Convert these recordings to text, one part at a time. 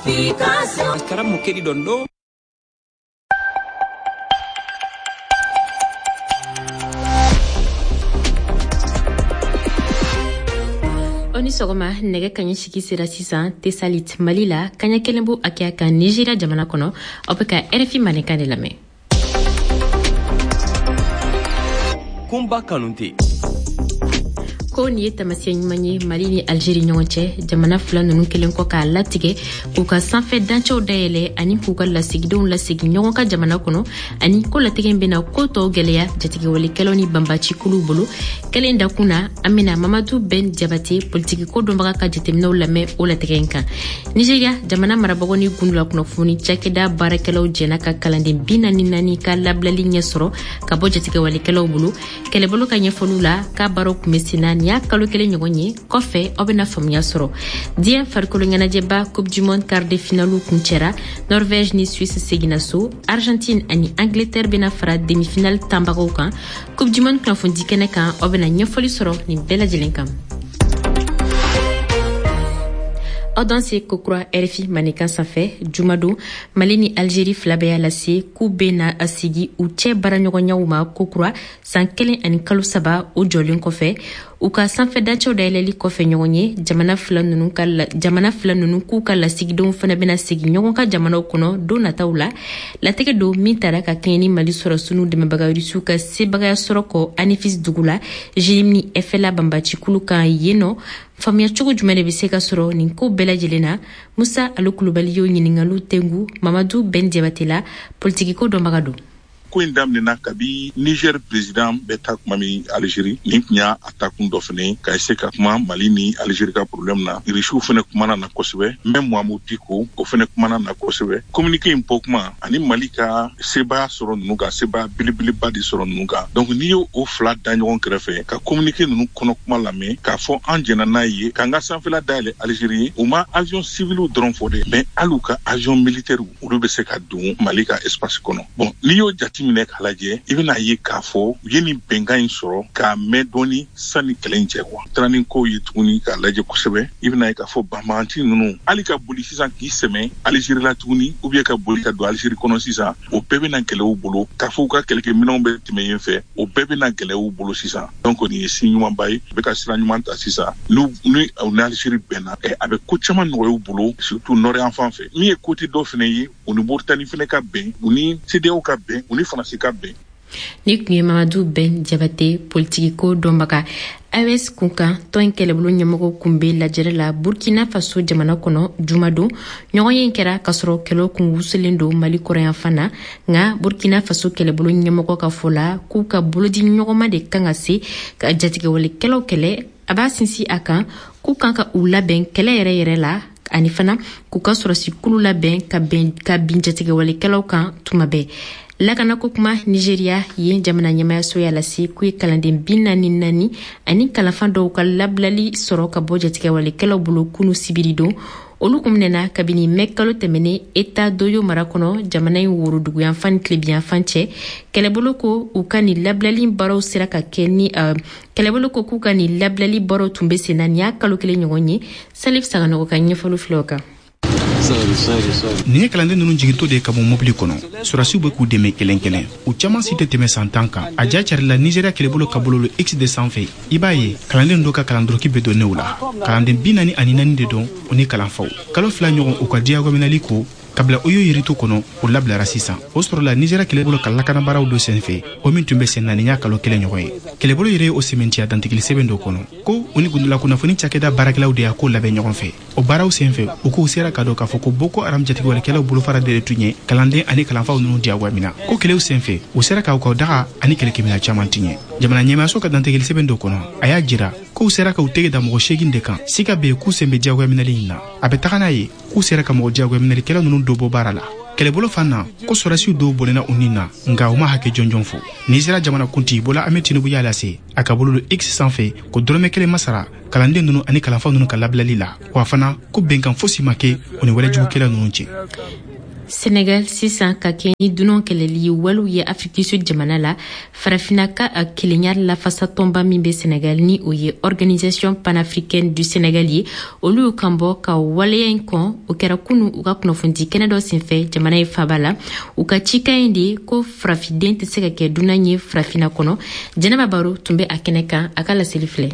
Karam mo keɗiɗon ɗo. Aw ni sɔgɔma. Nɛgɛ kaɲɛ 8 sera sisan Tesalit, Mali la, kaɲɛ 1 b'o hakɛya kan Nigeria jamana kɔnɔ. Aw bɛ ka RFI Mandenkan de lamɛn. Kunba Kanute. Ko nin ye taamasiyɛn ɲuman ye Mali ni Algérie ɲɔgɔn cɛ. Jamana fila ninnu kelen kɔ k'a latigɛ k'u ka sanfɛ dancɛw dayɛlɛ ani k'u ka lasigidenw lasegin ɲɔgɔn ka jamana kɔnɔ, ani ko latigɛ bɛna ko tɔw gwɛlɛya jatigɛwalekɛlaw ni banbacikuluw bolo. Kelen dakun na, an bena Mamadu Ben Jabate, politikiko dɔnbaga, ka jateminɛw lamɛn o latigɛ in kan. Nigeria jamana marabagaw ni gundula kunnafoni cakɛda baarakɛlaw jɛna ka kalanden 44 ka labilali ɲɛ sɔrɔ ka bɔ jatigɛwalekɛlaw bolo. Kɛlɛbolo ka ɲɛfɔliw la, k'a baaraw kun bɛ senna nin y'a kalo 1 ɲɔgɔn ye. Kɔfɛ, aw bɛna faamuya sɔrɔ. Diɲɛ farikolo ɲɛnajɛba Coupe du monde quart de finale kuncɛra. Norvège ni Suisse seginna so. Argentine ani Angleterre bɛna fara demi-finale tanbagaw kan. Coupe du monde kunnafonidi kɛnɛ kan, aw bɛna ɲɛfɔli sɔrɔ nin bɛɛ lajɛlen kan. Aw danse kokura RFI Mandenkan sanfɛ. Jumadon, Mali ni Algérie fila bɛɛ y'a lase k'u bena a sigi u cɛ baaraɲɔgɔnyaw ma kokura, san 1 ani kalo 3 o jɔlen kɔfɛ, u ka sanfɛ dancɛw dayɛlɛli kɔfɛ ɲɔgɔn ye. Jamana fila ninnu k'u ka lasigidenw fana bɛna segin ɲɔgɔn ka jamanaw kɔnɔ don nataw la. Latigɛ don min tara ka kɛɲɛ ni Mali sɔrɔsiw dɛmɛbaga Rusiw ka sebagaya sɔrɔ kɔ Anefis dugu la, JNIM ni FLA banbacikulu kan yen nɔ. Faamuya cogo jumɛn de bɛ se ka sɔrɔ nin ko bɛɛ lajɛlen na? Musa Alu Kulubali y'o ɲiningaliw tengu Mamadu Ben Jabate la, politikiko dɔnbaga don. Ko in daminɛna kabi Niger président bɛ taa kuma min Algérie. Nin tun y'a a takun dɔ fɛnɛ ka se ka kuma Mali ni Algérie ka problème na. Irisiw fɛnɛ kumana na kosɛbɛ, même Mahmoud Dicko, o fɛnɛ kumana na kosɛbɛ. Communiqué in bɔ kuma ani Mali ka sebaya sɔrɔ ninnu kan, sebaya belebeleba de sɔrɔ ninnu kan. Donc n'i y'o o fila da ɲɔgɔn kɛrɛfɛ ka communiqué ninnu kɔnɔ kuma lamɛn, k'a fɔ an jɛnna n'a ye k'an ka sanfɛla dayɛlɛ Algérie ye, u ma avion civiliw dɔrɔn fɔ dɛ, mais hali u ka avion militaire, olu bɛ se ka don Mali ka espace kɔnɔ. Bon, n'i y'o jateminɛ k'a lajɛ, i bɛna ye k'a fɔ u ye nin bɛnkan in sɔrɔ k'a mɛn dɔɔni sanni kɛlɛ in cɛ quoi. Taara ni kow ye tuguni k'a lajɛ kosɛbɛ, i bɛna ye k'a fɔ banbaganci ninnu, hali ka boli sisan k'i sɛmɛ Algérie la tuguni, ou bien ka boli ka don Algérie kɔnɔ sisan, o bɛɛ bɛna gɛlɛya u bolo. K'a fɔ u ka kɛlɛkɛminɛnw bɛ tɛmɛ yen fɛ, o bɛɛ bɛna gɛlɛya u bolo sisan. Donc nin ye signe ɲumanba ye, u bɛ ka sira ɲuman ta sisan. N'u ni u ni Algérie bɛnna, a bɛ ko caman nɔgɔya u bolo, surtout nord yan fan fɛ. Min ye côté dɔ fɛnɛ ye, u ni Mauritanie fɛnɛ ka bɛn, u ni CEDEAO ka bɛn, u ni Faransi ka bɛn. Ni tun ye Mamadu Ben Jabate, politikiko dɔnbaga. AES kunkan tɔn in kɛlɛbolo ɲɛmɔgɔw kun bɛ lajɛrɛ la Burkina Faso jamana kɔnɔ jumadon. Ɲɔgɔn ye kɛra k'a sɔrɔ kɛlɛw kun wusulen don Mali kɔrɔyanfan na. Nka Burkina Faso kɛlɛbolo ɲɛmɔgɔ ka fɔ la, k'u ka bolodi ɲɔgɔnma de kan ka se ka jatigɛwalekɛlaw kɛlɛ. A b'a sinsin a kan k'u kan ka u labɛn kɛlɛ yɛrɛ yɛrɛ la, ani fana k'u ka sɔrɔsikulu labɛn ka bɛn ka bin jatigɛwalekɛlaw kan tuma bɛɛ. Lakanako kuma, Nigeria yen jamana ɲɛmayaso y'a lase k'u ye kalanden 44 ani kalanfa dɔw ka labilali sɔrɔ ka bɔ jatigɛwalekɛlaw bolo kunu sibiri don. Olu kun minɛna kabini mɛ kalo tɛmɛnen État d'Oyo mara kɔnɔ, jamana in woroduguyanfan ni tilebiyanfan cɛ. Kɛlɛbolo ko u ka nin labilali baaraw sera ka kɛ ni kɛlɛbolo ko k'u ka nin labilali baaraw tun bɛ sen na nin y'a kalo 1 ɲɔgɔn ye. Salif Saganɔgɔ ka ɲɛfɔli filɛ o kan. Nin ye kalanden ninnu jigintɔ de ye ka bɔ mobili kɔnɔ. Sɔrɔdasiw bɛ k'u dɛmɛ kelen kelen. U caman si tɛ tɛmɛ san 10 kan. A ja carila Nizeriya kɛlɛbolo ka bɔlɔlɔ X de sanfɛ. I b'a ye kalanden dɔw ka kalandɔrɔki bɛ don new la. Kalanden 44 de don, u ni kalanfaw. Kalo 2 ɲɔgɔn u ka diyagoyaminɛli ko ka bila Oyo yirito kɔnɔ, o labilara sisan. O sɔrɔla Nizeriya kɛlɛbolo ka lakanabaaraw dɔ senfɛ, o min tun bɛ sen na nin y'a kalo 1 ɲɔgɔn ye. Kɛlɛbolo yɛrɛ ye o sɛmɛntiya dantigɛli sɛbɛn dɔ kɔnɔ ko u ni gundola kunnafoni cakɛda baarakɛlaw de y'a ko labɛn ɲɔgɔn fɛ. O baaraw senfɛ, u k'u sera ka dɔn k'a fɔ ko Boko Haram jatigɛwalekɛlaw bolofara de tun ye kalanden ani kalanfaw ninnu diyagoya minɛ. Ko kɛlɛw senfɛ, u sera k'u ka daga ani kɛlɛkɛminɛn caman tiɲɛ. Jamana ɲɛmaayaso ka dantigɛli sɛbɛn dɔ kɔnɔ, a y'a jira k'u sera k'u tɛgɛ da mɔgɔ 8 de kan, siga bɛ yen k'u sen bɛ diyagoya minɛli in na. A bɛ taga n'a ye k'u sera ka mɔgɔ diyagoya minɛlikɛla ninnu dɔ bɔ baara la. Kɛlɛbolo fan na, ko sɔrɔdasiw dɔw bɔnɛna u nin na, nka u ma hakɛ jɔnjɔn fɔ. Nizeriya jamanakuntigi Bola Ahmed Tinubu y'a lase a a ka bololo X sanfɛ ko dɔrɔmɛ kelen ma sara kalanden ninnu ani kalanfa ninnu ka labilali la, wa fana ko bɛnkan fosi ma kɛ u ni walejugukɛla ninnu cɛ. Senegal sisan, ka kɛ ni dunan kɛlɛli walew ye Afrique du Sud jamana la, Farafina ka kelenya lafasatɔnba min bɛ Senegal, ni o ye Organisation panafricaine du Sénégal ye, olu y'u kan bɔ ka waleya in kɔn. O kɛra kunu u ka kunnafonidi kɛnɛ dɔ senfɛ jamana ye faba la. U ka cikan in de ko farafiden tɛ se ka kɛ dunan ye Farafina kɔnɔ. Jɛnɛba Baro tun bɛ a kɛnɛ kan, a ka laseli filɛ.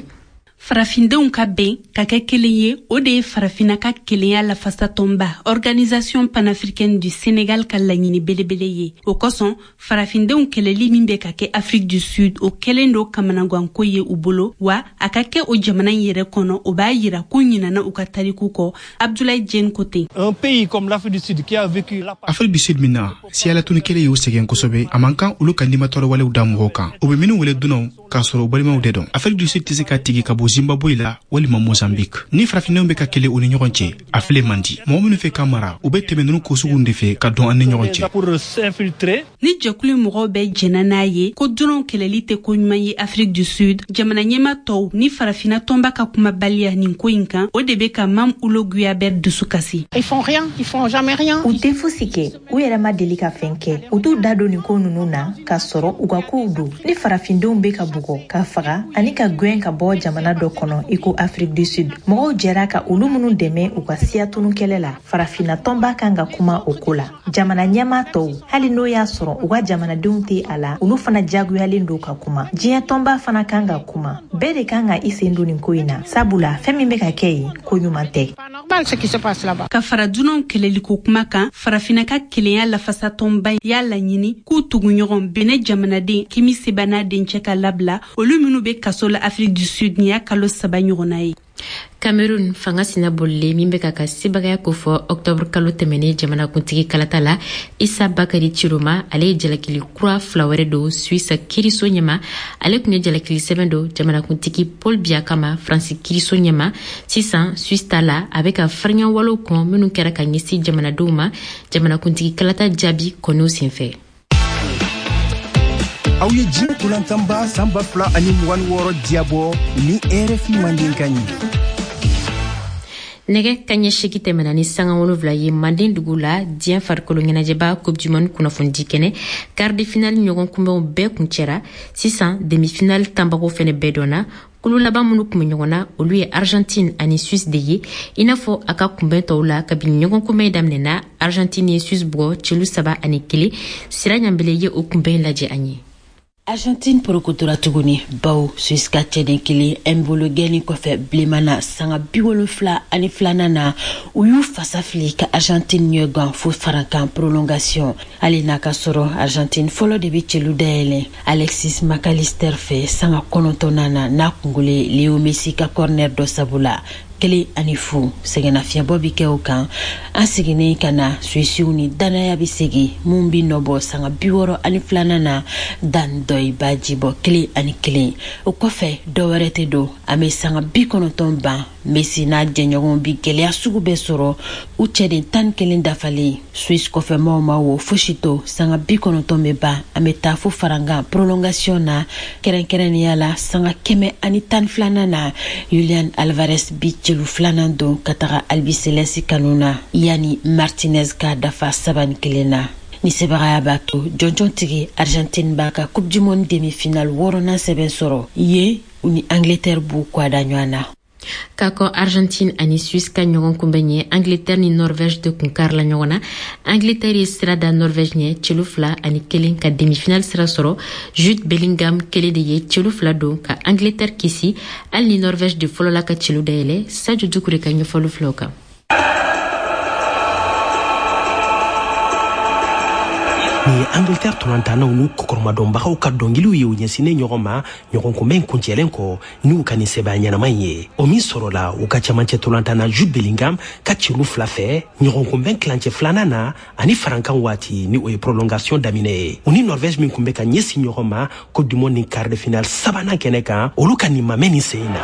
Farafindenw ka bɛn ka kɛ kelen ye, o de ye Farafina ka kelenya lafasatɔnba Organisation panafricaine du Sénégal ka laɲini belebele ye. O kosɔn, farafindenw kɛlɛli min bɛ ka kɛ Afrique du Sud, o kɛlen do kamanaganko ye u bolo wa. A ka kɛ o jamana in yɛrɛ kɔnɔ, o b'a yira ko ɲinana u ka tariku kɔ. Abdoulaye Diène ko ten. Un pays comme l'Afrique du Sud qui a vécu Afrique du Sud min na siyalatuni kɛlɛ y'u sɛgɛn kosɛbɛ, a man kan olu ka nimatɔrɔ walew da mɔgɔw kan, u bɛ minnu wele dunanw, k'a sɔrɔ u balimaw de dɔn. Afrique du Sud tɛ se ka tigi ka bɔ Zimbabwe la walima Mozambique. Ni farafindenw bɛ ka kɛlɛ u ni ɲɔgɔn cɛ, a filɛ man di. Mɔgɔ minnu fɛ ka mara, u bɛ tɛmɛ ninnu ko sugu de fɛ ka dɔn an ni ɲɔgɔn cɛ. Pour s'infiltrer. Ni jɛkulu mɔgɔw bɛɛ jɛnna n'a ye ko dunanw kɛlɛli tɛ ko ɲuman ye Afrique du Sud, jamana ɲɛma tɔw ni Farafina tɔnba ka kumabaliya nin ko in kan, o de bɛ ka Mam Ulo Guyabɛr dusu kasi. Ils font rien, ils font jamais rien. U tɛ fosi kɛ, u yɛrɛ ma deli ka fɛn kɛ. U t'u da don nin ko ninnu na k'a sɔrɔ u ka kow don. Ni farafindenw bɛ ka bugɔ, ka faga ani ka gwɛn ka bɔ jamana dɔ kɔnɔ i ko Afrique du Sud, mɔgɔw jɛra ka olu minnu dɛmɛ u ka siya tunu kɛlɛ la, Farafinna tɔnba kan ka kuma o ko la. Jamana ɲɛmaa tɔw, hali n'o y'a sɔrɔ u ka jamanadenw tɛ a la, olu fana jagoyalen don ka kuma. Diɲɛ tɔnba fana kan ka kuma. Bɛɛ de kan ka i sen don nin ko in na, sabula fɛn min bɛ ka kɛ yen, ko ɲuman tɛ. Normal ce qui se passe là-bas. Ka fara dunanw kɛlɛliko kuma kan, Farafinna ka kelenya lafasatɔnba y'a laɲini k'u tuguɲɔgɔn Benɛ jamanaden Kemi Seba n'a dencɛ ka labila, olu minnu bɛ kaso la Afrique du Sud nin y'a kalo 3 ɲɔgɔnna ye. Cameroun fanga sina bolilen min bɛ ka ka sebagaya kofɔ octobre kalo tɛmɛnen jamanakuntigi kalata la, Isa Bakari Ciroma, ale ye jalakili kura fila wɛrɛ don Suisse kiriso ɲɛma. Ale tun ye jalakili sɛbɛn don jamanakuntigi Paul Biya kama Faransi kiriso ɲɛma. Sisan, Suisse ta la, a bɛ ka farinya walew kɔn minnu kɛra ka ɲɛsin jamanadenw ma jamanakuntigi kalata jaabi kɔniw senfɛ. Aw ye diɲɛ tolantanba san 2026 diyabɔ ni RFI Mandenkan ye. Nɛgɛ kaɲɛ 8 tɛmɛna ni sanga 7 ye Manden dugu la. Diɲɛ farikolo ɲɛnajɛba Coupe du monde kunnafonidi kɛnɛ, quart de finale ɲɔgɔn kunbɛnw bɛɛ kuncɛra. Sisan, demi finale tanbagaw fɛnɛ bɛɛ dɔnna. Kulu laban minnu kun bɛ ɲɔgɔn na, olu ye Argentine ani Suisse de ye. I n'a fɔ a ka kunbɛn tɔw la, kabini ɲɔgɔn kunbɛn daminɛna, Argentine ye Suisse bugɔ celu 3-1. Sira Ɲanbele ye o kunbɛn lajɛ an ye. Argentine porokotora tuguni, bawo Suisse ka cɛden kelen Embolo gɛnni kɔfɛ bilenman na sanga 72nan na, u y'u fasa fili ka Argentine ɲɛgan fo farankan prolongation. Hali n'a ka sɔrɔ Argentine fɔlɔ de bɛ celu dayɛlɛ Alexis McAllister fɛ sanga 9nan na, n'a kungolo Leo Messi ka corner dɔ sabu la, 1-0. Sɛgɛnnafiɲɛbɔ bi kɛ o kan. An seginnen ka na, Suisiw ni danaya bɛ segin mun bi nɔbɔ sanga 62nan na, Dan Dɔyi b'a jibɔ 1-1. O kɔfɛ, dɔwɛrɛ tɛ don, an bɛ sanga 90 ban. Messi n'a jɛɲɔgɔnw bi gɛlɛya sugu bɛɛ sɔrɔ, u cɛden 11 dafalen. Suisse kɔfɛmaw ma wo fosi to. Sanga 90 bɛ ban, an bɛ taa fo farankan prolongation na, kɛrɛnkɛrɛnnenya la sanga 112nan na, Julian Alvarez bi celu filanan don ka taga Albiceleste kanu na, yanni Martinez k'a dafa 3-1 na. Ni sebagaya b'a to jɔnjɔn tigi Argentine b'a ka Coupe du monde demi-finale wɔɔrɔnan sɛbɛn sɔrɔ yen, u ni Angleterre b'u kwada ɲɔgɔn na. K'a kɔ Argentine ani Suisse ka ɲɔgɔn kunbɛn ɲɛ, Angleterre ni Norvège de kun karila ɲɔgɔn na. Angleterre ye sira da Norvège ɲɛ celu 2-1 ka demi-finale sira sɔrɔ. Jude Bellingham kelen de ye celu fila don ka Angleterre kisi, hali ni Norvège de fɔlɔla ka celu dayɛlɛ. Sadio Dukure ka ɲɛfɔli filaw kan. Nin ye Angleterre tolantannaw n'u kɔkɔrɔmadɔnbagaw ka dɔnkiliw ye u ɲɛsinnen ɲɔgɔn ma ɲɔgɔn kunbɛn kuncɛlen kɔ n'u ka nin sɛbɛn ɲɛnama in ye, o min sɔrɔla u ka cɛmancɛ tolantanna Jude Bellingham ka celu fila fɛ ɲɔgɔn kunbɛn tilancɛ filanan na ani farankan waati, ni o ye prolongation daminɛ ye. U ni Norvège min kun bɛ ka ɲɛsin ɲɔgɔn ma Coupe du monde ni quart de finale sabanan kɛnɛ kan, olu ka nin mamɛ nin sen in na.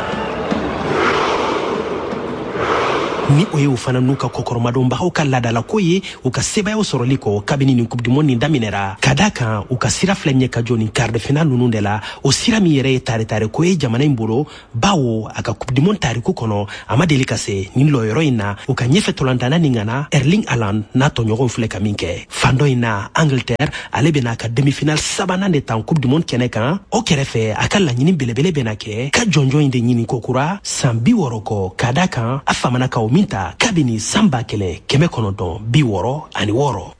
Ni o ye u fana n'u ka kɔkɔrɔmadonbagaw ka laadalako ye, u ka sebayaw sɔrɔli kɔ kabini nin Coupe du Monde nin daminɛra. Ka da kan, u ka sira filɛ ɲɛ ka jɔ nin quart de finale ninnu de la, o sira min yɛrɛ ye tare-tare ko ye jamana in bolo, bawo a ka Coupe du Monde tariku kɔnɔ, a ma deli ka se nin lɔyɔrɔ in na. U ka ɲɛfɛ tɔlantana nin ŋana Erling Haaland n'a tɔɲɔgɔnw filɛ ka min kɛ fan dɔ in na. Angleterre, ale bɛna ka demi-finale sabanan de tan Coupe du Monde kɛnɛ kan. O kɛrɛfɛ, a ka laɲini belebele bɛna kɛ ka jɔnjɔn in de ɲini kokura san 60 kɔ, ka da kan a famana ka o min ta kabini san 1966.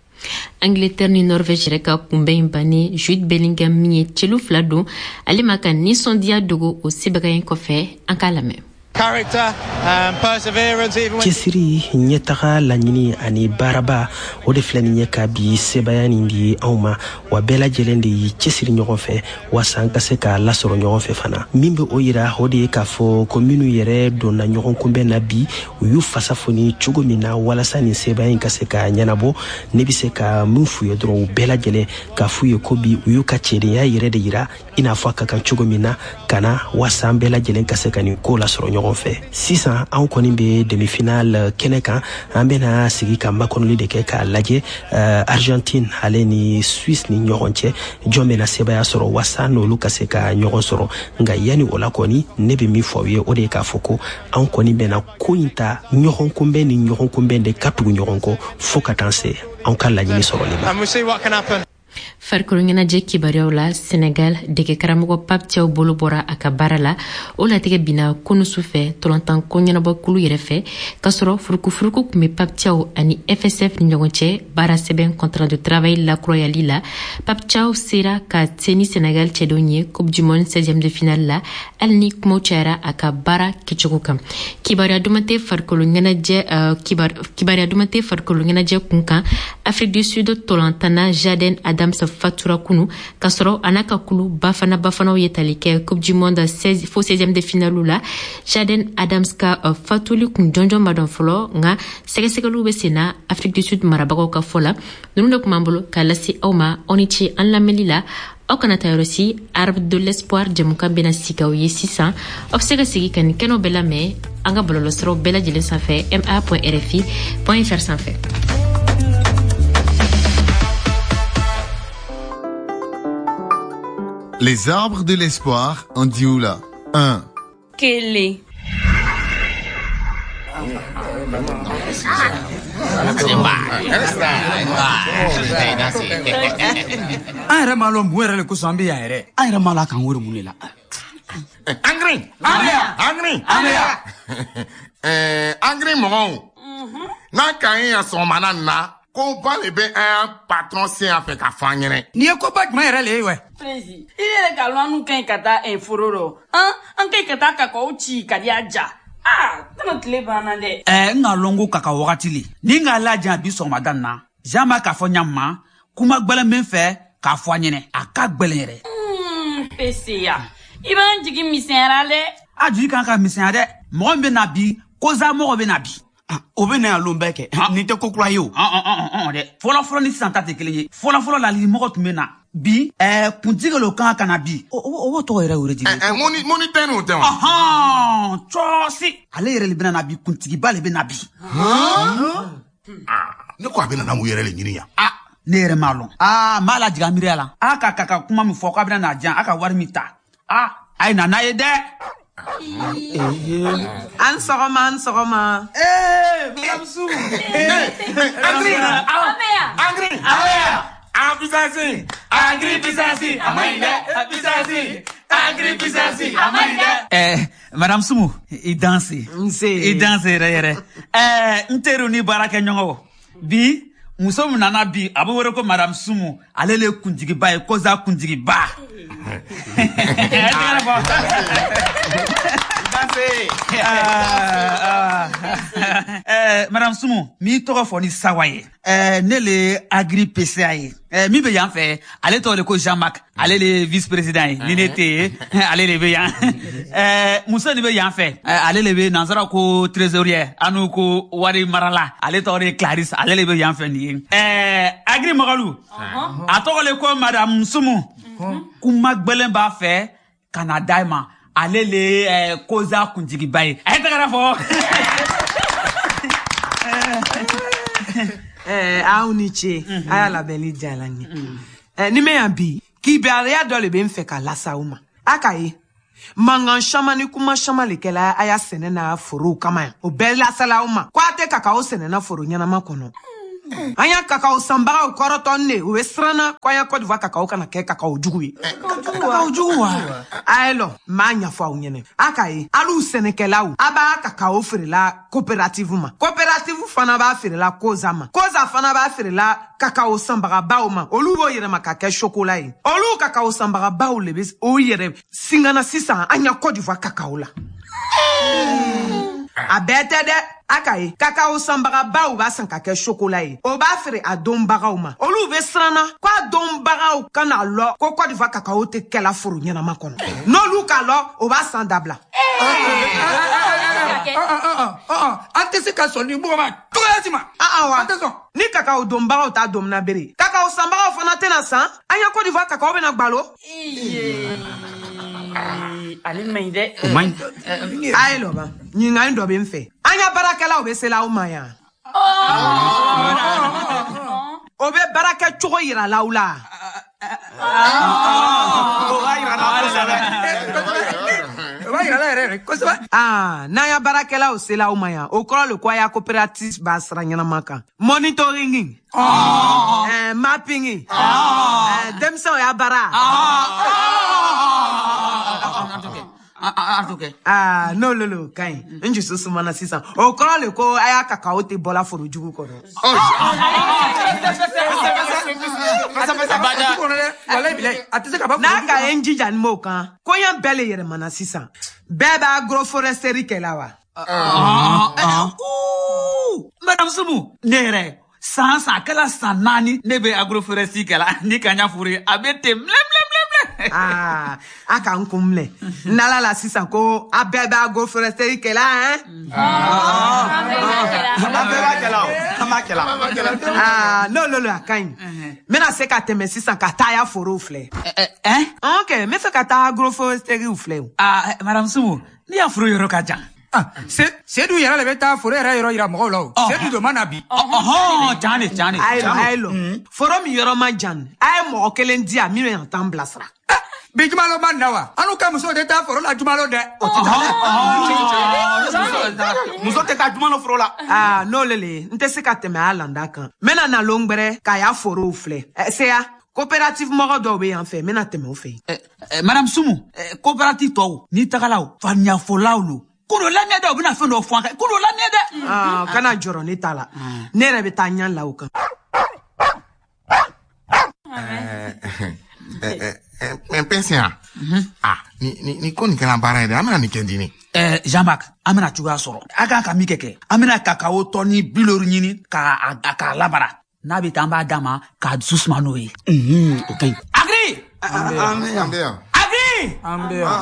Angleterre ni Norvège yɛrɛ ka kunbɛn in bannen, Jude Bellingham min ye celu fila don, ale ma ka nisɔndiya dogo o sebaga in kɔfɛ. An k'a lamɛn. Cɛsiri, ɲɛtaga laɲini ani baaraba, o de filɛ nin ye ka bi sebaya nin di anw ma. Wa bɛɛ lajɛlen de y'i cɛsiri ɲɔgɔn fɛ waasa an ka se k'a lasɔrɔ ɲɔgɔn fɛ fana. Min bɛ o yira, o de ye k'a fɔ ko minnu yɛrɛ donna ɲɔgɔn kunbɛn na bi, u y'u fasa foni cogo min na walasa nin sebaya in ka se ka ɲɛnabɔ. Ne bɛ se ka min f'u ye dɔrɔn, u bɛɛ lajɛlen k'a f'u ye ko bi u y'u ka cɛdenya yɛrɛ de yira, i n'a fɔ a ka kan cogo min na ka na, waasa an bɛɛ lajɛlen ka se ka nin ko lasɔrɔ ɲɔgɔn fɛ. Sisan anw kɔni bɛ demi-finale kɛnɛ kan. An bɛna sigi ka makɔnɔli de kɛ k'a lajɛ Argentine ale ni Suisse ni ɲɔgɔn cɛ, jɔn bɛna sebaya sɔrɔ waasa n'olu ka se ka ɲɔgɔn sɔrɔ. Nka yanni o la kɔni, ne bɛ min fɔ aw ye, o de ye k'a fɔ ko anw kɔni bɛna ko in ta ɲɔgɔn kunbɛn ni ɲɔgɔn kunbɛn de ka tugu ɲɔgɔn kɔ fo ka taa se anw ka laɲini sɔrɔli ma. Farikolo ɲɛnajɛ kibaruyaw la, Senegal dege karamɔgɔ Pape Thiaw bolo bɔra a ka baara la. O latigɛ binna kunu su fɛ tɔlɔntan ko ɲɛnabɔkulu yɛrɛ fɛ, k'a sɔrɔ furukufuruku tun bɛ Pape Thiaw ani FSF ni ɲɔgɔn cɛ baara sɛbɛn contrat de travail lakurayali la. Pape Thiaw sera ka se ni Senegal cɛdenw ye Coupe du Monde 16e de finale la, hali ni kumaw cayara a ka baara kɛcogo kan. Kibaruya duman tɛ farikolo ɲɛnajɛ, kibaruya duman tɛ farikolo ɲɛnajɛ kun kan. Afrique du Sud tɔlɔntanna Jaden Adams fatura kunu, k'a sɔrɔ a n'a ka kulu Bafana Bafanaw ye tali kɛ Coupe du Monde 16 fo 16e de finale la. Jaden Adams ka fatuli kun jɔnjɔn ma dɔn fɔlɔ, nka sɛgɛsɛgɛliw bɛ sen na Afrique du Sud marabagaw ka fɔ la. Ninnu de tun b'an bolo k'a lase aw ma. Aw ni ce an lamɛnli la. Aw kana taa yɔrɔ si, Arbre de l'espoir jɛmukan bɛna sigi aw ye sisan. Aw bɛ se ka sigi ka nin kɛnɛw bɛɛ lamɛn an ka bɔlɔlɔsiraw bɛɛ lajɛlen sanfɛ, ma.rfi.fr sanfɛ. Les arbres de l'espoir en Dioula. 1. Kelen. An yɛrɛ m'a lɔn mun yɛrɛ le kosɔn an bɛ yan yɛrɛ. An yɛrɛ m'a lɔn a k'an wele mun de la. Angiri. Angiri. Angiri mɔgɔw. N'an ka ye yan sɔgɔmada nin na, ko ba de bɛ an patron sen yan fɛ ka fɔ an ɲɛnɛ. Nin ye koba jumɛn yɛrɛ le ye wɛ? Prési, i yɛrɛ ka lɔn annu ka ɲi ka taa foro rɔ. An ka ɲi ka taa kakaw ci ka di a ja. Aa, tɛna tile banna dɛ. N k'a lɔn ko kaka wagati le. Ni n k'a lajan bi sɔgɔmada nin na, Jean b'a k'a fɔ ɲa ma, kuma gbɛlɛn bɛ n fɛ k'a fɔ a ɲɛnɛ. A ka gbɛlɛn yɛrɛ. PCA, i b'an jigi misɛnyara dɛ. A jigi kan ka misɛnya dɛ. Mɔgɔ min bɛ na bi, koza mɔgɔ bɛ na bi. O bɛ na yan lon bɛɛ kɛ. Nin tɛ ko kura ye o. Dɛ. Fɔlɔ-fɔlɔ ni sisan ta tɛ kelen ye. Fɔlɔ-fɔlɔ la mɔgɔ tun bɛ na. Bi, kuntigi le kan ka na bi. O tɔgɔ yɛrɛ wele di. Moni tɛ n'o tɛ wa? Cɔsi. Ale yɛrɛ le bɛna na bi, kuntigiba le bɛ na bi. Ne ko a bɛna na mun yɛrɛ le ɲini yan? Ne yɛrɛ m'a lɔn. N b'a lajigin a miiriya la. A ka kuma min fɔ k'a bɛna na diyan, a ka wari min ta. A ye na n'a ye dɛ. An sɔgɔma, an sɔgɔma. Madame Sou. Angri, Angri, Angri, Angri Pisasi, Amaïdé, Pisasi, Angri Pisasi, Amaïdé. Madame Soumou, i danse. I danse yɛrɛ yɛrɛ. N teriw ni baarakɛɲɔgɔnw. Bi, muso min nana bi, a bɛ wele ko Madame Soumou. Ale le ye kuntigiba ye, koza kuntigiba. Madame Soumou, m'i tɔgɔ fɔ ni sawa ye. Ne le ye Agri PCA ye. Min bɛ yan fɛ, ale tɔgɔ de ko Jean-Marc, ale le ye vice président ye. Ni ne tɛ yen, ale de bɛ yan. Muso nin bɛ yan fɛ, ale le bɛ nansara ko trésorier, an n'u ko wari marala. Ale tɔgɔ de ye Clarisse, ale le bɛ yan fɛ nin ye. Agri Mɔgɔlu, a tɔgɔ le ko Madame Soumou. Kuma gbɛlɛn b'a fɛ ka na d'a ma. Ale le ye koza kuntigiba ye. A ye tɛgɛrɛ fɔ. Aw ni ce, a y'a labɛnni diyara n ye. Ni mɛ yan bi, kibaruya dɔ le bɛ n fɛ ka lase aw ma. A k'a ye, mankan caman ni kuma caman le kɛla a y'a sɛnɛ n'a forow kama yan. O bɛɛ lasela aw ma ko a tɛ kakawo sɛnɛ na foro ɲɛnama kɔnɔ. An y'a kakawo sanbagaw kɔrɔtɔ ne, u bɛ siran na ko an y'a Côte d'Ivoire kakawo kana kɛ kakawo jugu ye. Kakawo jugu wa? A ye lɔ, n b'a ɲɛfɔ aw ɲɛnɛ. A k'a ye, hali sɛnɛkɛlaw, a b'a kakawo feerela coopérative ma. Coopérative fana b'a feerela Koza ma. Koza fana b'a feerela kakawo sanbagabaw ma. Olu b'o yɛlɛma ka kɛ chocolat ye. Olu kakawo sanbagabaw le bɛ o yɛrɛ singana sisan an ya Côte d'Ivoire kakawo la. A bɛɛ tɛ dɛ. A k'a ye, kakawo sanbagabaw b'a san ka kɛ chocolat ye. O b'a feere a donbagaw ma. Olu bɛ siran na ko a donbagaw kana lɔ ko Côte d'Ivoire kakawo tɛ kɛla foro ɲɛnama kɔnɔ. N'olu k'a lɔ, o b'a san dabila. An tɛ se ka sɔn ni mɔgɔ ma cogoya si ma. Wa an tɛ sɔn. Ni kakawo donbagaw t'a domina bere, kakawo sanbagaw fana tɛna san. An ya Côte d'Ivoire kakawo bɛna gbalo. Ale man ɲi dɛ. O man ɲi. A ye lɔ ban, ɲininkali dɔ bɛ n fɛ. An ya baarakɛlaw bɛ sela aw ma yan. O bɛ baarakɛ cogo yira l'aw la. O b'a yira la kosɛbɛ. O b'a yira la yɛrɛ kosɛbɛ. N'an ya baarakɛlaw sela aw ma yan, o kɔrɔ le ko a ya coopérative b'a sira ɲɛnama kan. Monitoring. Mapping. Denmisɛnw y'a baara. N'o lolo ka ɲi. N dusu sumana sisan. O kɔrɔ le ko a y'a kakawo tɛ bɔla foro jugu kɔnɔ. N'a ka ye n jija ni m'o kan, koɲɛ bɛɛ le yɛlɛmana sisan. Bɛɛ b'a agroforesterie kɛ la wa? Madame Soumou, ne yɛrɛ san san a kɛla san 4 ne bɛ agroforesterie kɛ la. Ni ka ɲa furu ye, a bɛ ten milɛ milɛ milɛ. A ka n kun minɛ. N'ala la sisan ko a bɛɛ bɛ agroforesterie kɛ la, hein? An bɛɛ b'a kɛ la o. An b'a kɛ la. N'o lolo a ka ɲi. N bɛna se ka tɛmɛ sisan ka taa ya forow filɛ. Ok, n bɛ fɛ ka taa agroforesterie filɛ o. Madame Soumou, ne y'a foro yɔrɔ ka jan. Sedu yɛrɛ le bɛ taa foro yɛrɛ yɔrɔ yira mɔgɔw la o. Sedu don ma na bi. Can de can de. A ye lɔ. Foro min yɔrɔ man jan, a ye mɔgɔ kelen di yan min bɛ na taa n bilasira. Bi jumalo ma na wa? An n'u ka musow tɛ taa foro la jumalo dɛ. O tɛ taa dɛ. Muso tɛ taa jumalo foro la. N'o le le, n tɛ se ka tɛmɛ a landa kan. N bɛna na lon gbɛrɛ k'a y'a forow filɛ. Seya, coopérative mɔgɔ dɔw bɛ yan fɛ, n bɛna tɛmɛ o fɛ yen. Madame Soumou, coopérative tɔw, n'i tagala o, faniyafɔlaw lo. K'olu lamɛn dɛ, u bɛna fɛn dɔ fɔ an kan. K'olu lamɛn dɛ. Kana jɔrɔ ne ta la. Ne yɛrɛ bɛ taa ɲɛ la o kan. Pɛnsiya. Ni ko nin kɛra baara ye dɛ, an bɛna nin kɛ di ne. Jean-Marc, an bɛna cogoya sɔrɔ. A kan ka min kɛ, an bɛna kakawo tɔni 50 ɲini k'a labara. N'a bɛ taa, an b'a d'a ma k'a dusu suma n'o ye. O ka ɲi. Agri! An bɛ yan. Agri! An bɛ yan.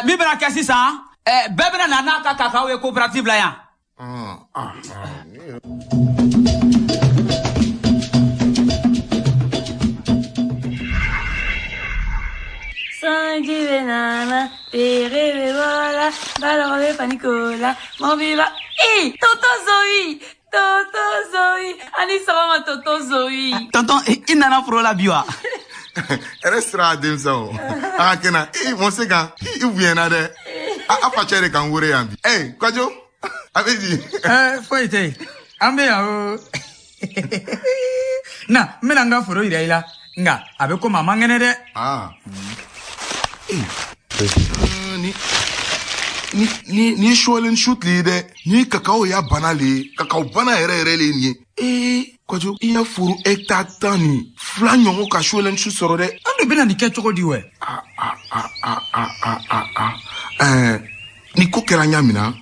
Min bɛna kɛ sisan, bɛɛ bɛna na n'a ka kakawo ye coopérative la yan. Sanji bɛ nana, tere bɛ bɔla, balɔgɔ bɛ fani ko la, mɔbili ba. Tonton Zoé, tonton Zoé, ani sɔgɔma tonton Zoé. Tonton, i nana foro la bi wa? Hɛrɛ sira denmisɛnw. A ka kɛnɛ, mɔ se kan, i bonyana dɛ. A facɛ de k'an wele yan bi. Kɔjo, a bɛ di? Foyi tɛ yen. An bɛ yan o. Na, n bɛna n ka foro yira i la. Nka a bɛ komi a man kɛnɛ dɛ. Ni ye suwalen su tile ye dɛ. Ni kakawo y'a bana le ye, kakawo bana yɛrɛ yɛrɛ le ye nin ye. Kɔjo, i y'a foro hectare 12 ɲɔgɔn ka suwalen su sɔrɔ dɛ. An de bɛna nin kɛ cogo di wɛ? Ni ko kɛra ɲa min na,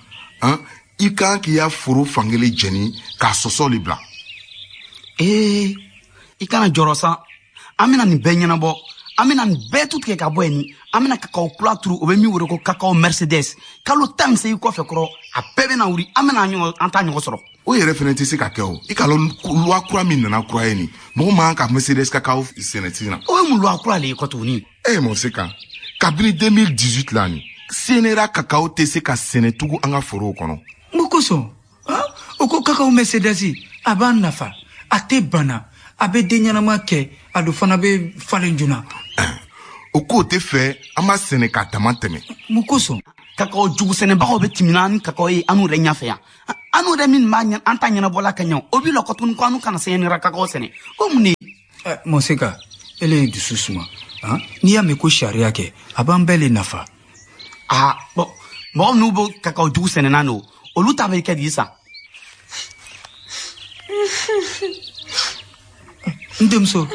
i kan k'i ya foro fankelen jɛni k'a sɔsɔ le bila. I kana jɔrɔ sa. An bɛna nin bɛɛ ɲɛnabɔ. An bɛna nin bɛɛ tu tigɛ ka bɔ yen ni. An bɛna kakawo kura turu, o bɛ min wele ko kakawo Mercedes. Kalo 18 kɔfɛ kɔrɔ, a bɛɛ bɛna wuli, an bɛna an ta ɲɔgɔn sɔrɔ. O yɛrɛ fɛnɛ tɛ se ka kɛ o. I ka lɔn loi kura min nana kura ye nin, mɔgɔ man kan ka Mercedes kakawo sɛnɛ sisan. O ye mun loi kura le ye kɔ tuguni? Mɔ se kan. Kabini 2018 la nin, CNRA kakawo tɛ se ka sɛnɛ tugun an ka forow kɔnɔ. Mun kosɔn? O ko kakao Mercedes a b'an nafa, a tɛ bana, a bɛ den ɲɛnama kɛ, a dun fana bɛ falen joona. O k'o tɛ fɛ an b'a sɛnɛ k'a dama tɛmɛ. Mun kosɔn? Kakao jugu sɛnɛbagaw bɛ tɛmɛna ni kakao ye an yɛrɛ ɲɛfɛ yan. An yɛrɛ min b'a an ta ɲɛnabɔla ka ɲɛ, o b'i lɔ tuguni ko an kana sɛnɛra kakao sɛnɛ. O mun de? Mɔseka, ele ye dusu suma. N'i y'a mɛn ko sariya kɛ, a b'an bɛɛ le nafa. Ah bon, mɔgɔ minnu bɛ kakao jugu sɛnɛna n'o, olu ta bɛ kɛ di sisan? N denmuso,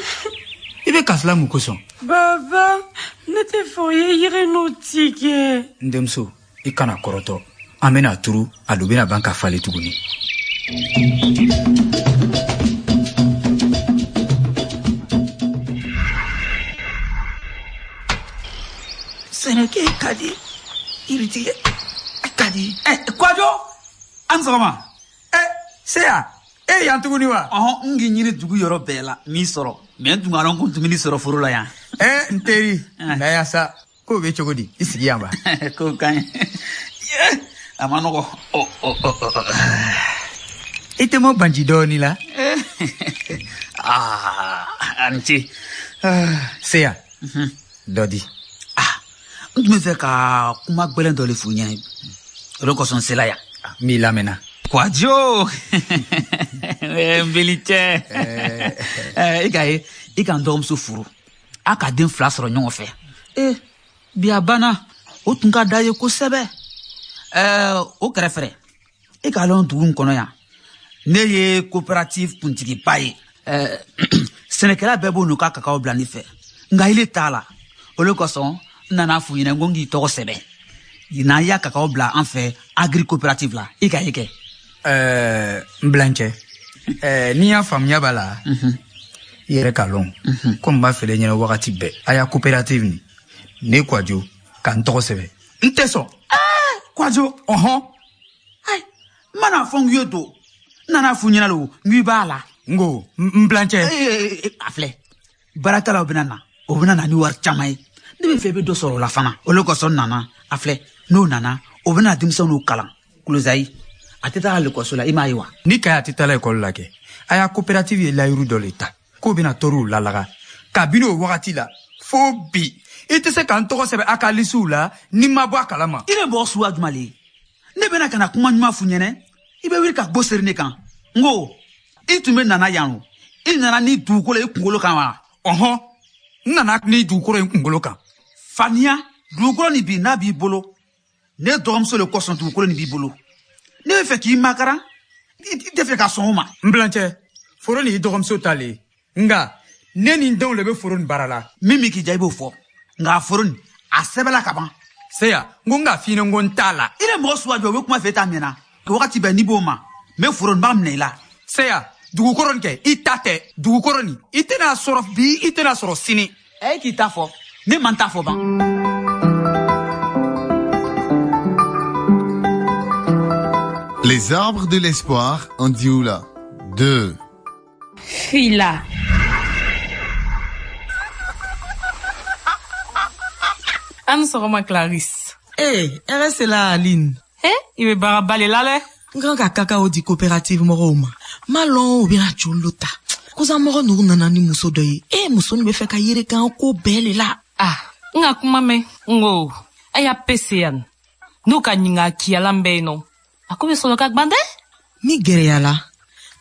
i bɛ kasila mun kosɔn? Baba, ne tɛ fɛ o ye yiri n'o tigɛ. N denmuso, i kana kɔrɔtɔ. An bɛna turu, a dun bɛna ban ka falen tuguni. Sɛnɛkɛ ka di, yiritigɛ ka di. Kɔjɔ, an sɔgɔma. Seya, e yan tuguni wa? Ɔhɔn, n k'i ɲini dugu yɔrɔ bɛɛ la, m'i sɔrɔ. Mɛ n tun ka dɔn ko n tun bɛ n'i sɔrɔ foro la yan. N teri, na yan sa. K'o bɛ cogo di? I sigi yan ba. K'o ka ɲi. A ma nɔgɔ. I tɛ mɔ banji dɔɔni la? A ni ce. Seya, dɔ di. N tun bɛ fɛ ka kuma gɛlɛn dɔ de f'u ɲɛna. O de kosɔn n sela yan. N b'i lamɛnna. Kɔjɔ! N beli cɛ. I k'a ye, i ka n dɔgɔmuso furu. A ka den 2 sɔrɔ ɲɔgɔn fɛ. Bi a banna, o tun ka d'a ye kosɛbɛ. O kɛrɛfɛ, e k'a lɔn dugu in kɔnɔ yan, ne ye coopérative kuntigiba ye. Sɛnɛkɛla bɛɛ b'o n'u ka kakao bila ne fɛ, nka ile t'a la. O de kosɔn n nana f'u ɲɛna ko n k'i tɔgɔ sɛbɛn. N'an y'a kakao bila an fɛ agri coopérative la, i ka ye kɛ. N bilancɛ, n'i y'a faamuya b'a la, i yɛrɛ k'a lɔn ko n b'a feere ɲɛna wagati bɛɛ. A y'a coopérative nin, ne Kɔjɔ ka n tɔgɔ sɛbɛn. N tɛ sɔn. Kɔjɔ. Ɔhɔn. Ayi, n mana fɔ n k'i ye don, n nana f'u ɲɛna o, n k'i b'a la. N ko n bilancɛ. A filɛ, baarakɛlaw bɛna na, o bɛna na ni wari caman ye. Ne bɛ fɛ i bɛ dɔ sɔrɔ o la fana. O de kosɔn n nana, a filɛ, n'o nana, o bɛna denmisɛnninw kalan. Kulozayi, a tɛ taa lekɔliso la, i m'a ye wa? Ni Kaya tɛ taa lekɔli la kɛ, a y'a coopérative ye layiru dɔ le ta, k'o bɛna tɔɔrɔw lalaga. Kabini o wagati la, fo bi, i tɛ se ka n tɔgɔ sɛbɛn a ka lisiw la ni ma bɔ a kalama. I bɛ mɔgɔ suguya jumɛn le ye? Ne bɛna ka na kuma ɲuman f'u ɲɛna, i bɛ wuli ka go seri ne kan. N ko, i tun bɛ nana yan o, i nana ni dugukolo ye kunkolo kan wa? Ɔhɔn, n nana ni dugukolo ye kunkolo kan. Faniya, dugukolo nin bi n'a b'i bolo, ne dɔgɔmuso le kosɔn dugukolo nin b'i bolo. Ne bɛ fɛ k'i makaran, i tɛ fɛ ka sɔn o ma. N bilancɛ, foro nin y'i dɔgɔmuso ta le ye. Nka ne ni n denw le bɛ foro nin baara la. Min bɛ k'i diya i b'o fɔ. Nka foro nin, a sɛbɛnla ka ban. Seya, n ko n k'a f'i ɲɛna n ko n t'a la. I ni mɔgɔ suguya jumɛn, o bɛ kuma fɛ e t'a mɛnna. Wagati bɛɛ n'i b'o ma, n bɛ foro nin b'a minɛ i la. Seya, dugukolo nin kɛ, i ta tɛ. Dugukolo nin, i tɛna sɔrɔ bi, i tɛna sɔrɔ sini. E k'i ta fɔ, ne man ta fɔ ban. Les arbres de l'espoir en Dioula. 2. Fila. An sɔgɔma Clarisse. Hɛrɛ sela Aline. I bɛ baaraba le la dɛ. N kan ka kakao di coopérative mɔgɔw ma. N m'a lɔn u bɛna joli lo ta. Kosa mɔgɔ ninnu nana ni muso dɔ ye. Muso nin bɛ fɛ ka yirikan ko bɛɛ le la. N ka kuma mɛn. N ko, a y'a pese yan. N'u ka ɲininka kiyalan bɛ yen nɔ. A ko bɛ sɔrɔ ka gwan dɛ. Min gɛrɛyala,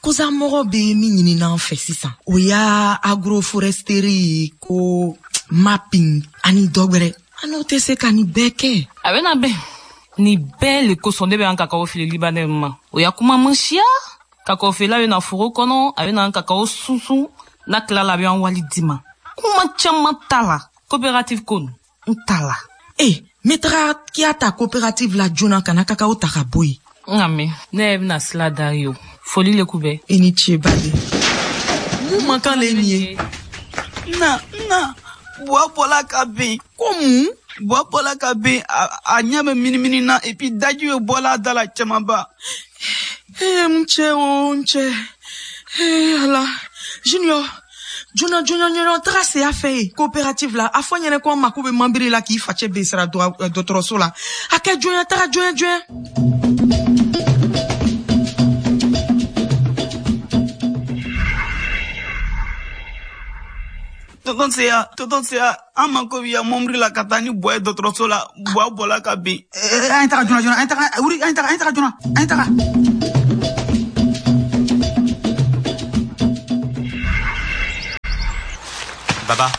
kosa mɔgɔ bɛ min ɲini n'an fɛ sisan, o y'a agroforesterie ko mapping ani dɔ wɛrɛ. An n'o tɛ se ka nin bɛɛ kɛ. A bɛna bɛn. Nin bɛɛ le kosɔn ne bɛ an kakao feere Libanais ma. O y'a kuma man siya. Kakao feerela bɛ na foro kɔnɔ, a bɛ na an kakao sunsun. N'a tilala, a bɛ an wali di ma. Kuma caman t'a la. Coopérative ko n t'a la. N bɛ taga k'i ta coopérative la joona ka na kakao ta ka bɔ yen. Nka mɛ, ne yɛrɛ bɛna sila da ye o. Foli le k'u bɛɛ. I ni ce baden. Mun man kan le nin ye? Na, buwa bɔla ka bin. Ko mun? Buwa bɔla ka bin, a ɲɛ bɛ minimini na et puis daji bɛ bɔla a da la camanba. N cɛ o, n cɛ. Ala. Junior, joona joona taga se a fɛ yen coopérative la. A fɔ n ɲɛna ko an mako bɛ manbiri la k'i facɛ bɛ sara dɔgɔtɔrɔso la. A kɛ joona, taga joona joona. Tonton Seya, tonton Seya, an mako b'i ya mɔbili la ka taa ni Buwa ye dɔgɔtɔrɔso la. Buwa bɔla ka bin. An ye taga joona joona, an ye taga, wuli, an ye taga, an ye taga joona, an ye taga. Baba,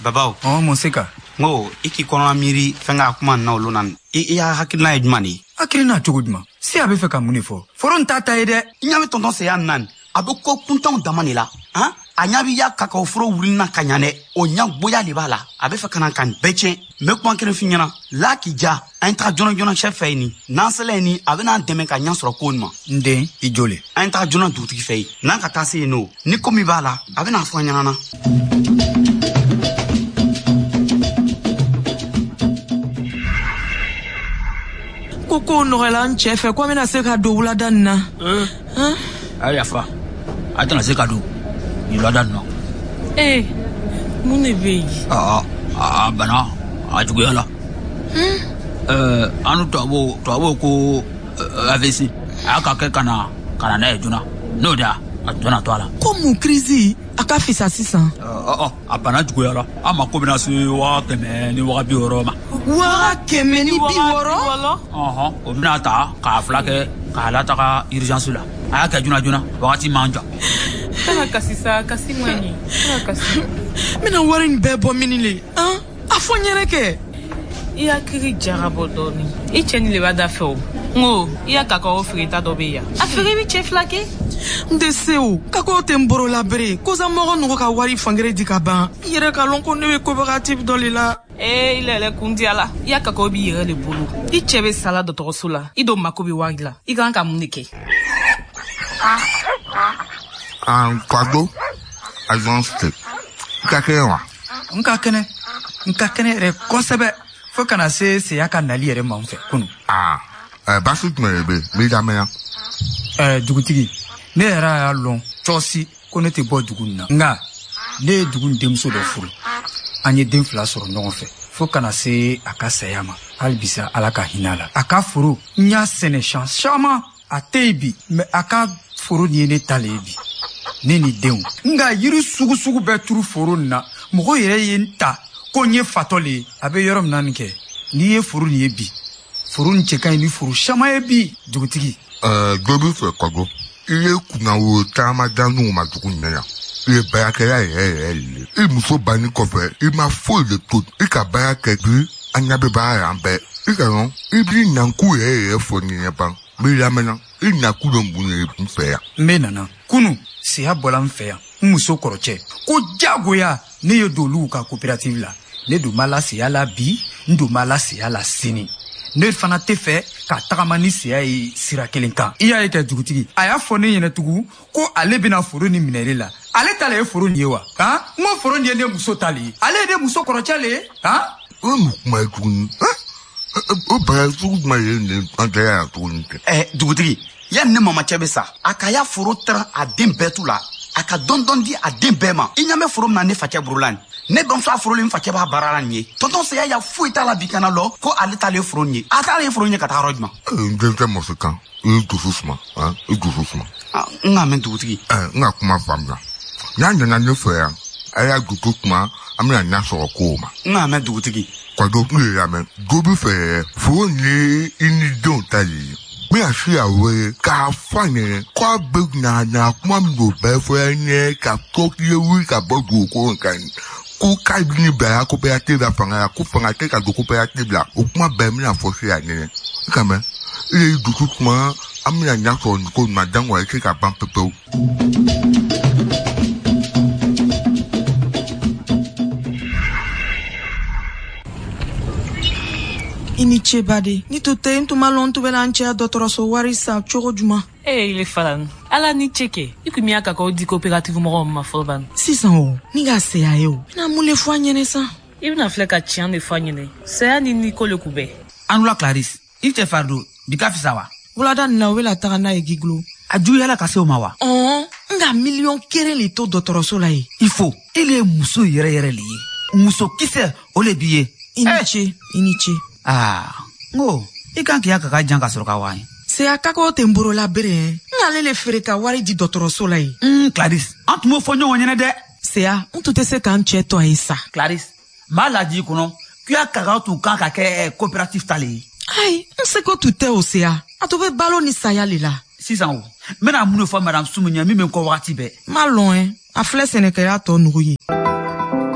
babaw. Ɔ, mun se ka? N ko i k'i kɔnɔna miiri fɛn ka kuma nin na olu na. I y'a hakilina ye jumɛn de ye? Hakilina cogo jumɛn? Seya bɛ fɛ ka mun de fɔ? Foro in t'a ta ye dɛ. I ɲɛ bɛ tonton Seya nin na nin, a bɛ ko kuntanw dama de la. Han? A ɲɛ b'i ya kakaw foro wulina ka ɲa dɛ. O ɲɛ goya de b'a la. A bɛ fɛ ka na ka nin bɛɛ tiɲɛ. N bɛ kuma kelen f'i ɲɛna. La k'i ja, an ye taga joona joona chef fɛ yen nin. N'an sela yen nin, a bɛna an dɛmɛ ka ɲɛ sɔrɔ ko nin ma. N den, i jɔ le. An ye taga joona dugutigi fɛ yen. N'an ka taa se yen nɔ, ni ko min b'a la, a bɛna fɔ an ɲɛna na. Ko kow nɔgɔyala n cɛ fɛ ko an bɛna se ka don wulada nin na. A ye yafa, a tɛna se ka don nin wulada nin na. Ee, mun de bɛ yen? A bana a juguyala. An ni tubabuw ko AVC a y'a ka kɛ ka na n'a ye joona, n'o de a tun to a la. Ko mun kirisi a ka fisa sisan? A bana juguyala, an mako bɛna se 160 ma. 160? Ɔhɔn, o bɛna ta k'a fila kɛ k'a lataga urgence la. A y'a kɛ joona joona, wagati man jan. Kana kasi sa, kasi man ɲi. Kana kasi. N bɛna wari in bɛɛ bɔ mini le? Han? A fɔ n ɲɛnɛ kɛ. I hakili jagabɔ dɔɔni. I cɛ ni le b'a da fɛ o. N ko i ya kakawo feereta dɔ bɛ yan. A feere bɛ cɛ fila kɛ. N tɛ se o. Kakawo tɛ n bolo la bere. Kosa mɔgɔ nugu ka wari fankelen di ka ban. I yɛrɛ ka lɔn ko ne bɛ coopérative dɔ le la. Ee, i yɛrɛ kun diya la. I ya kakawo b'i yɛrɛ de bolo. I cɛ bɛ sala dɔgɔtɔrɔso la. I dun mako bɛ wari la. I kan ka mun de kɛ? Kwadwo, agence tɛ. I ka kɛnɛ wa? N ka kɛnɛ. N ka kɛnɛ yɛrɛ kosɛbɛ. Fo kana se Seya ka nali yɛrɛ ma n fɛ kunun. Baasi jumɛn de bɛ yen? N b'i lamɛn. Dugutigi, ne yɛrɛ y'a lɔn cɔsi ko ne tɛ bɔ dugu in na. Nka ne ye dugu in denmuso dɔ furu. An ye den fila sɔrɔ ɲɔgɔn fɛ. Fo kana se a ka saya ma. Hali bisa Ala ka hinɛ a la. A ka foro, n y'a sɛnɛ siɲɛ caman. A tɛ yen bi, mɛ a ka foro nin ye ne ta le ye bi. Ne ni denw. Nka yiri sugu sugu bɛɛ turu foro nin na. Mɔgɔ yɛrɛ ye n ta ko n ye fatɔ le ye. A bɛ yɔrɔ min na nin kɛ, n'i ye foro nin ye bi, foro nin cɛ ka ɲi ni foro caman ye bi, dugutigi. Dɔ b'i fɛ Kwadwo. I ye kunnawo caman da n'u ma dugu in na yan. I ye baarakɛla yɛrɛ yɛrɛ de ye. I muso banni kɔfɛ, i ma foyi de to. I ka baara kɛ bi, an ɲɛ bɛ baara la an bɛɛ. I ka dɔn, i b'i nakun yɛrɛ yɛrɛ fɔ ne ɲɛ ban. N b'i lamɛnna. I nakun bɛ mun de ye n fɛ yan? N bɛ nana. Kunun, Seya bɔla n fɛ yan. N muso kɔrɔcɛ. Ko diyagoya ne ye don olu ka coopérative la. Ne dun b'a la Seya la bi, n dun b'a la Seya la sini. Ne fana tɛ fɛ ka tagama ni Seya ye sira kelen kan. I y'a ye kɛ dugutigi, a y'a fɔ ne ɲɛna tugun ko ale bɛna foro nin minɛ ne la. Ale ta le ye foro nin ye wa? Han? N ko foro nin ye ne muso ta le ye. Ale ye ne muso kɔrɔcɛ le ye. Han? O ye mun kuma ye tuguni? O bana sugu jumɛn ye nin an tɛ yan tuguni kɛ? Dugutigi, yanni ne mamacɛ bɛ sa, a ka ya foro taran a den bɛɛ tu la. A ka dɔɔni dɔɔni di a den bɛɛ ma. I ɲɛ bɛ foro min na ne facɛ bolo la nin. Ne bamuso a foro le n facɛ b'a baara la nin ye. Tonton Seya ya foyi t'a la bi kana lɔ ko ale t'ale foro nin ye. A t'ale foro nin ye ka taa yɔrɔ jumɛn? N denkɛ Mɔsikan, i ye dusu suma, i dusu suma. N k'a mɛn dugutigi. N ka kuma faamuya. N'a nana ne fɛ yan, a y'a dusu suma, an bɛna ɲɛ sɔrɔ kow ma. N k'a mɛn dugutigi. Kwadwo, n y'i lamɛn. Dɔ b'i fɛ yɛrɛ, foro nin ye i ni denw ta de ye. N bɛna se a wele k'a fɔ a ɲɛna k'a bɛ na kuma min don bɛɛ fɔ an ɲɛ ka to k'i ye wuli ka bɔ dugukolo kan ko k'a bɛ ni bila coopérative la fanga la ko fanga tɛ ka don coopérative la o kuma bɛɛ n bɛna fɔ se a ɲɛna i ka mɛn i ye dusu suma an bɛna ɲɛ sɔrɔ nin ko in ma jango a tɛ se ka ban pewu pewu. I ni ce baden, ni tun tɛ n tun ma lɔn n tun bɛna n cɛya dɔgɔtɔrɔso wari san cogo jumɛn. Ee, ile fana Ala ni ce kɛ. I kun y'a kakaw di coopérative mɔgɔw ma fɔlɔ ban. Sisan o, ni ka saya ye o, n bɛna mun le fɔ a ɲɛnɛ san? I bɛna filɛ ka tiɲɛ de fɔ a ɲɛnɛ. Saya ni ko le kun bɛɛ. An wula Clarisse, i cɛ fari don bi ka fisa wa? Wulada nin na o bɛna taga n'a ye Giglo. A juguyala ka se o ma wa? Ɔn, n ka 1 miliyɔn le to dɔgɔtɔrɔso la yen. Il faut, i le ye muso yɛrɛ yɛrɛ le ye. Muso kisɛ o le b'i ye. I ni ce, i ni ce. Aa, n ko i kan k'i ya kaka jan ka sɔrɔ ka wa ye. Seya kakaw tɛ n bolo la bere ye. N k'ale le feere ka wari di dɔgɔtɔrɔso la yen. Clarisse, an tun b'o fɔ ɲɔgɔn ɲɛnɛ dɛ. Seya, n tun tɛ se ka n cɛ to a ye sa. Clarisse, n b'a ladi i kɔnɔ k'i ya kakao tun kan ka kɛ coopérative ta le ye. Ayi, n seko tun tɛ o Seya. A tun bɛ balo ni saya le la. Sisan o, n bɛna mun de fɔ madame Sumu ɲɛ min bɛ n kɔ wagati bɛɛ? N m'a lɔn ɛ, a filɛ sɛnɛkɛla tɔ nugu ye.